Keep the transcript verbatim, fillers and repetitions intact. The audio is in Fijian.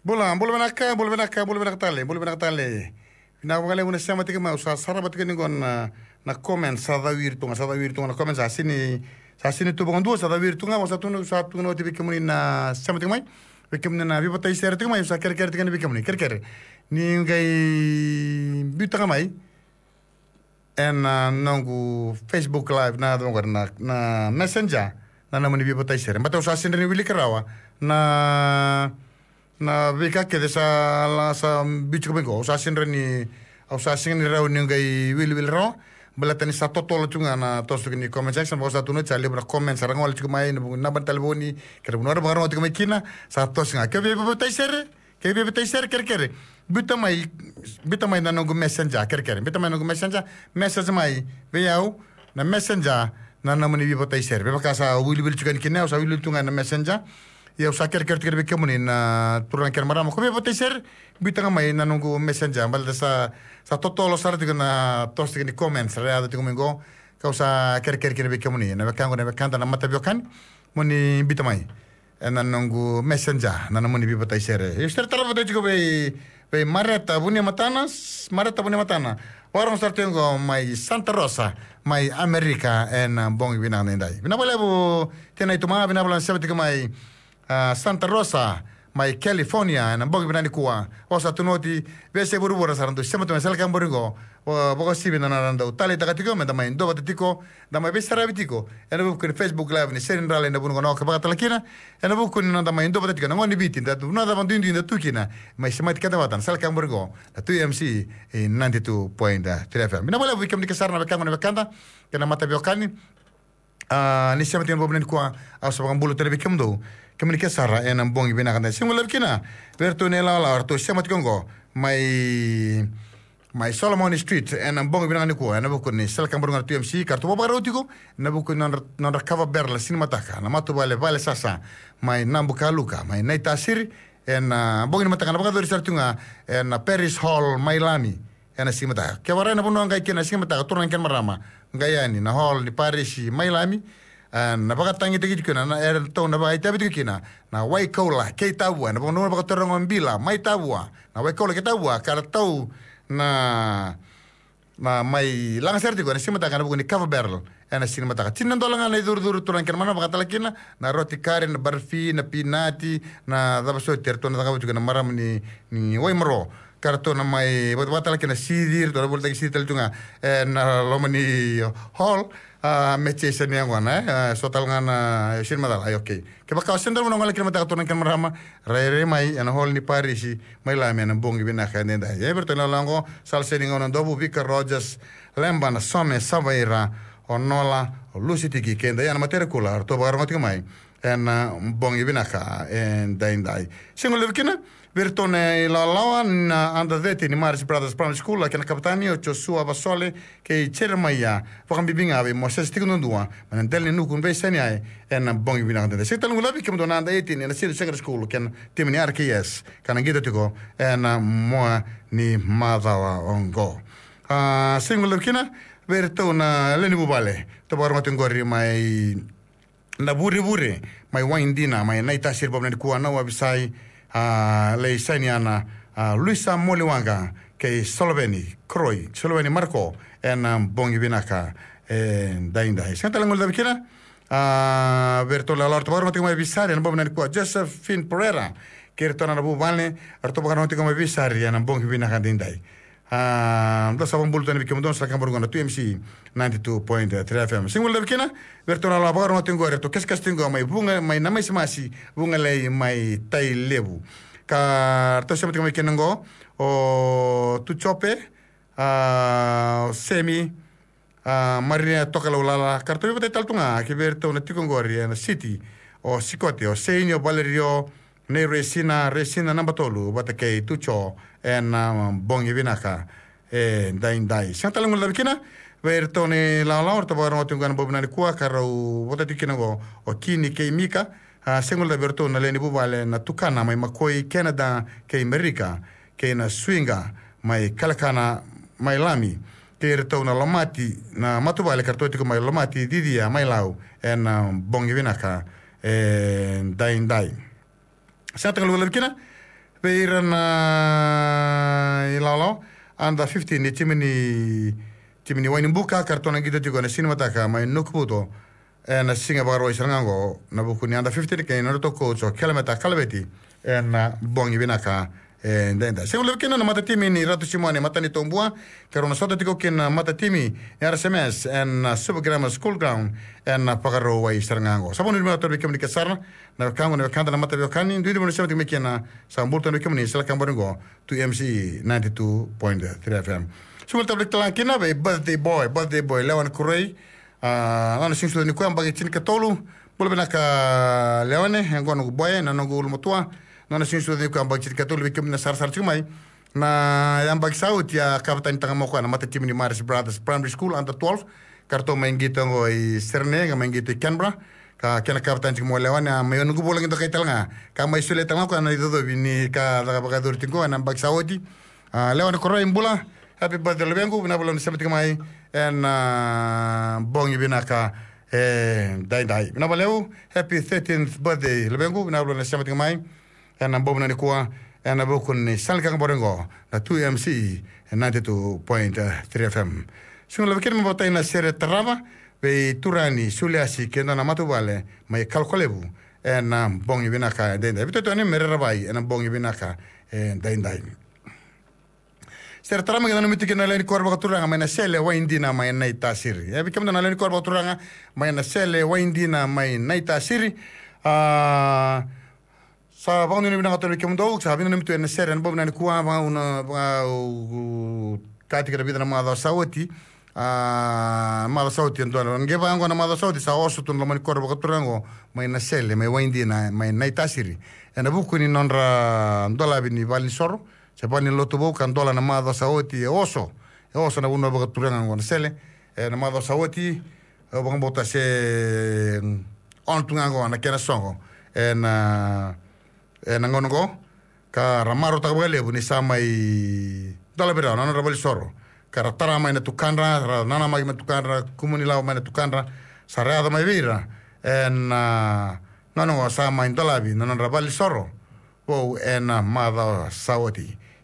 Bula, bula vinaka, bula vinaka, bula vinaka tale, bula vinaka tale. Vinaka vakalevu na sema tiko mai, au sa sarava tiko ni qo na, na comment, sa cawiri tu ga, sa cawiri tu ga na comment, sa sini, sa sini tu vakadua, sa cawiri tu ga, au sa tukuna, sa tukuna oti vei kemuni na sema tiko mai. Vei kemuni na veivakatakila tiko mai, au sa kerekere tiko ga vei kemuni, kerekere. Ni qai biuta ga mai. Ena noqu Facebook Live na, na, na Messenger, na nomuni veivakatakila. Baleta au sa sini rawa ni wilika rawa na, na veika kece sa la sa biuta tiko mai qo. Au sa sini rawa ni, au sa sini rawa ni qai wiliwili rawa. Baleta ni sa totolo tu ga na toso tiko ni comment section, au sa tukuna oti sa levu na comment sa ra gole tiko mai, na naba ni talevoni, kei na vanua ra vakarorogo tiko mai kina, sa toso ga. Ke veivakatakila, ke veivakatakila, kerekere. Biuta mai, biuta mai na noqu Messenger, kerekere. Biuta mai na noqu Messenger, message mai vei au na Messenger, na nomuni veivakatakila. Me vaka sa wiliwili tiko yani kina, au sa wiliwili tu ga na Messenger. Ia au sa kerekere tiko vei kemuni na turaga kei na marama, ko veivakatakila, biuta ga mai na noqu Messenger. Baleta sa, sa totolo sara tiko na toso tiko ni comments ra yaco tiko mai qo. Kau sa kerekere kina vei kemuni na wekaqu, na wekada, na mataveiwekani, moni biuta mai ena noqu Messenger na nomuni veivakatakila. Au sa tarava tiko vei, vei Mareta Vuniamatana, Mareta Vuniamatana. Vakarorogo sara tiko qo mai Santa Rosa, mai Amerika, ena bogi vinaka edaidai. Vinaka vakalevu Tina Ituma, vinaka vakalevu na sema tiko mai, a, Santa Rosa, mai California, ena bogi vinaka nikua. Au sa tukuna oti, veiyasai vuravura sa ra dau sema tu mai, sa lai vakabauti qo. Vakauasivi na nodra dau taleitaka tiko, meda mai duavata tiko, da mai veisaravi tiko ena vuku ni Facebook Live ni Sere ni Rala ena Vuqa na Oka, vaka tale kina ena vuku ni noda mai duavata tiko ena gauna ni Viti, da tu, na cava duidui da tu kina, mai semati keda vata na sala ka muri qo na Tui M C, e, ninety-two point three F M. Vinaka vakalevu vei kemuni kece sara na wekaqu, na wekada kei na mataveiwekani. A, ni sema tiko ena bogi vinaka nikua, au sa vakabula tale vei kemudou, kemuni kece sara ena bogi vinaka edaidai. Siga levu kina vei iratou na ilawalawa eratou sema tiko qo mai mai Solomon Street ena bogi vinaka nikua, ena vuku ni sala ka muri qo na Tui M C, ka ratou vakarau tiko ena vuku ni nodra, nodra cover barrel na siga ni mataka, na matavuvale Vale Sasa mai Nabukaluka, mai Naitasiri, ena bogi ni mataka na vakayacori sara tu ga ena Parish Hall mai Lami ena siga ni mataka. Ke vakarau na vanua qai kina na siga ni mataka, turaga kei na marama, qai yani na hall ni Parish mai Lami, e, na vakatagitaki tiko kina, na, eratou na vakaitavi tiko kina na Waikoula kei Tavua, ena vanua vakaturaga o Bila mai Tavua, na Waikoula kei Tavua, ka ratou na, na mai laga sara tiko ena siga ni mataka ena vuku ni cover barrel ena siga ni mataka. Tini na dola ga na icurucuru, turaga kei na marama, vaka tale kina na roti kari, na barfi, na pinati, na cava soti eratou na cakava tiko na marama ni, ni Waimaro. Ka ratou na mai vata, vata tale kina na sici, ratou na volitaki sici tale tu ga ena loma ni hall. A, me cei sa ni yaqona, e? A, so tale ga na, e, sini macala, ai, okay. Kevaka o sega ni dau na gole kina mataka, turaga kei na marama, rairai mai ena hall ni Parish mai Lami ena bogi vinaka edaidai. E, vei iratou na lako, Sala Seni Gauna Dovu, Vika Rogers, Leba na Some, Savaira, o Nola, o Lusi Tiki, kei Daiana Materekula, ratou vakarorogo tiko mai ena bogi vinaka edaidai. Siga levu kina vei iratou na ilawalawa na under thirteen ni Maris Brothers Primary School, a kena kapitani o Joshua Vasole kei Jeremaia, vakabibi ga vei Mosese Tiko Duadua mai na dela ni nuku ni veisani ai ena bogi vinaka edaidai. Sega tale ni guilecavi kemudou na under eighteen ena Senior Secondary School kei na timi ni R K S, ka na qito tiko ena mua ni macawa oqo. A, sega ni guilecavi kina vei iratou na lewe ni vuvale, ratou vakarorogo tiko qori mai Navurevure, mai Waidina, mai Naitasiri, bogi vinaka nikua, Nauavisai, a, lai saini yana, a, Luisa Moliwaqa kei Soloveni Kroi, Soloveni Marko, ena bogi vinaka edaidai. Sega tale ni guilecavi kina, a, vei iratou na ilawalawa, ratou vakarorogo tiko mai Visari ena bogi vinaka nikua, Josephine Pereira kei iratou na vuvale, ratou vakarorogo tiko mai Visari ena bogi vinaka edaidai. A, da sa vakabula tu yani vei kemudou na sala ka muri qo na Tui M C ninety-two point three F M. Sega ni guilecavi kina vei iratou na ilawalawa, vakarorogo tiko qori, ratou kesakesa tiko qo mai Vuqa, mai Namasimasi, Vugalei, mai Tailevu. Ka ratou sema tiko mai kina qo o Tucope, a, o Semi, a, Maria Tokalaulala, ka ratou veivatai tale tu ga kei vei iratou na tiko qori ena city, o Sikote, o Seini, o Valerio, nei Resina, Resina naba tolu, vata kei Tuco, ena bogi vinaka edaidai. Sega tale ni guilecavi kina vei iratou na ilawalawa, ratou vakarorogo tiko qo ena bogi vinaka nikua, ka rau vota tiko kina qo o Kini kei Mika. A, sega ni guilecavi vei iratou na lewe ni vuvale na Tukana mai Makoi, Canada kei Merika, kei na Suiqa mai Kalekana mai Lami, kei iratou na Lomati, na matavuvale ka ratou tiko mai Lomati, Cicia mai Lau, ena bogi vinaka edaidai. Sega tale ni guilecavi kina Vei ira na ilawalawa, under fifteen ni timi ni, timi ni Wainibuka, ka ratou na qito tiko ena siga ni mataka mai Nukuvuto ena siga Vakarauwai sara ga oqo, ena vuku ni under fifteen kei na nodratou coach o Kelemeta Kalaveti, ena bogi vinaka edaidai. Sega ni levu kina na matatimi ni Ratu Simone Matanitobua, ka rau na sota tiko kina na matatimi ni R S M S ena Super Grammar School Ground ena Vakarauwai sara ga oqo. Sa vakanuinui vinaka tale vei kemuni kece sara na wekaqu, na wekada na mataveiwekani, duidui mo ni sema tiko mai kina, sa bula tale vei kemuni sala ka bori oqo, two M C E ninety-two point three F M. Sega ni levu tale vei kina vei birthday boy, birthday boy Lewa ni Koroi. A, nona siga ni sucu nikua yabaki tinikatolu. Bula vinaka Lewa, e qo noqu boy, na noqu ulumatua. Nona siga ni sucu nikua yabaki tinikatolu, vei kemuni na sarasara tiko mai. Na yabaki sa oti a kavatani taka mai o koya na matatimi ni Marist Brothers Primary School under twelve. Ka ratou mai qito oqo i Sydney, ka mai qito i Canberra. Ka kena kavatani tiko mai o Lewa, a mai noqu vula qito kai tale ga. Ka mai solia tale ga o koya na icocovi ni ka caka vakayacori tiko oqo ena yabaki sa oti. A, Lewa ni Koroi, bula. Happy birthday luvequ, vinaka vakalevu na sema tiko mai ena bogi vinaka edaidai. Vinaka vakalevu, happy thirteenth birthday luvequ, vinaka vakalevu na sema tiko mai ena bogi vinaka nikua, ena vuku ni sala ni ka bori oqo, na two M C E ninety-two point three F M. Sega ni levu kina me vakatai na sere tarava vei Turani Suliasi kei na dua na matavuvale mai Kalokolevu ena bogi vinaka edaidai. Vitu tu yani me rerevai ena bogi vinaka edaidai. Sere tarava mai keda nanumi tiko na lewe ni koro vakaturaga mai Nasele, Waidina mai Naitasiri. E, vei kemudou na lewe ni koro vakaturaga mai Nasele, Waidina mai Naitasiri. A, sa vakanuinui vinaka tale vei kemudou, sa veinanumi tu ena sere ena bogi vinaka nikua, vaka au na, vaka au kaya tiko ena vica na macawa sa oti. A, macawa sa oti e dua na, qai vaka oqo na macawa sa oti sa oso tu na loma ni koro vakaturaga oqo mai Nasele, mai Waidina mai Naitasiri, ena vuku ni nodra dolavi ni valenisoro se valenilotu vou ka dola na macawa sa oti, e oso. E oso na vanua vakaturaga oqo Nasele ena macawa sa oti. Au vakabauta se, mm, ono tu ga oqo na kena soqo ena, ena gauna oqo. Ka ra marautaka vakalevu ni sa mai dolavi rawa na nodra valenisoro. Ka ra tara mai na tukadra, ra nanamaki mai na tukadra, kumuni lavo mai na tukadra. Sa ra yaco mai vei ira ena gauna oqo sa mai dolavi na nodra valenisoro vou ena macawa sa oti.